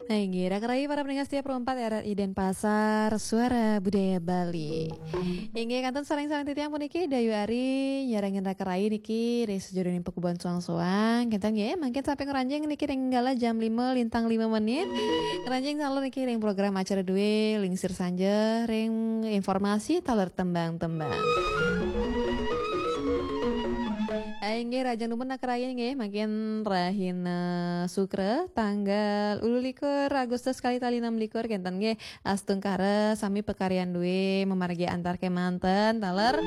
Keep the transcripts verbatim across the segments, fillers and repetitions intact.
Nah, inggih, raka rayi para pendengar setia Pro empat R R I Denpasar, Suara Budaya Bali. Inggih, kantun sareng-sareng titiang puniki, Dayu Ari, nyarengin raka rayi niki, ring sajeroning pakubuhan soang-soang. Kenten nggih, mangkin sampai ngranjing niki ring galah jam lima lintang lima menit. Ngranjing taler niki ring program acara duwe, Lingsir Sanja, ring informasi taler tembang-tembang. Inggih, rahajeng dumun raka rayi nggih, mangkin rahina Sukra, tanggal ulu likur Agustus kalih tali enam likur, kenten nggih, astungkara sami pakaryan duwe mamargi antar kemanten, taler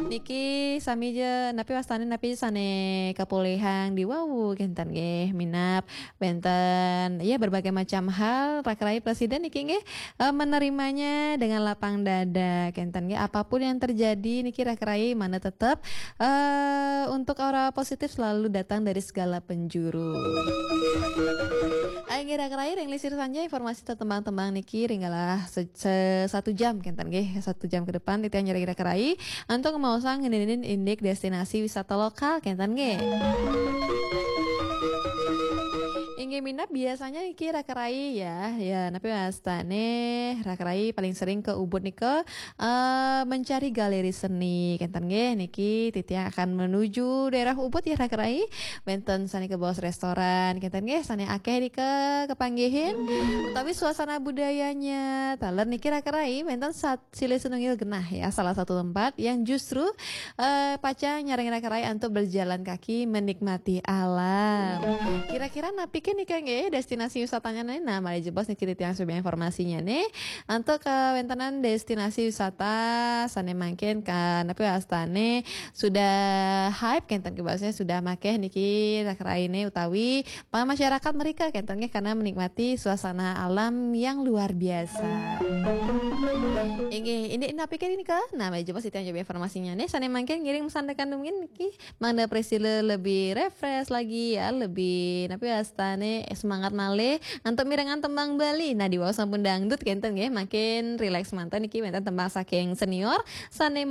niki sami ja, napi wastane, napi sane kapolihang diwawu, kenten nggih, minab wenten, ya, berbagai macam hal, raka rayi presiden niki nggih, eh, menerimanya dengan lapang dada, kenten nggih, apapun yang terjadi niki raka rayi mana tetap, eh, untuk aura positif selalu datang dari segala penjuru. Inggih raka rayi, ring Lingsir Sanja informasi tembang-tembang niki ring galah se-, se-, satu jam kenten nggih, satu jam ke depan titiang nyarengin raka rayi antuk ngemaosang ngeninin indik destinasi wisata lokal kenten nggih. Inggih minab biasanya niki raka rayi ya, ya napi wastane raka rayi paling sering ke Ubud nika, eh, mencari galeri seni kenten nggih, niki titiang akan menuju daerah Ubud ya raka rayi. Wenten sane kabaos restoran kenten nggih, sane akeh nika kepanggihin. Utawi suasana budayanya, taler niki raka rayi wenten sat-, silih sinunggil genah ya, salah satu tempat yang justru, eh, pacang nyarengin raka rayi antuk berjalan kaki menikmati alam. Kira-kira napi ke nika nggih destinasi wisatanya nih? Nah, malih jebos niki titiang sumebar informasinya nih. Antuk kawentenan destinasi wisata sane mangkin ka napi wastane sudah hype kenten, bahasanya sudah makeh niki raka rayine utawi para masyarakat mereka kenten nggih, karena menikmati suasana alam yang luar biasa. Inggih, indik napi ke nika? Nah, malih jebos titiang sumebar informasinya nih. Sane mangkin ngiring masandekan dumun niki mangda prasida lebih refresh lagi ya, lebih napi wastane semangat malih antuk mirengang tembang Bali. Nah, diwaos sampun dangdut kenten nggih, makin rileks manten niki wenten tembang saking senior sane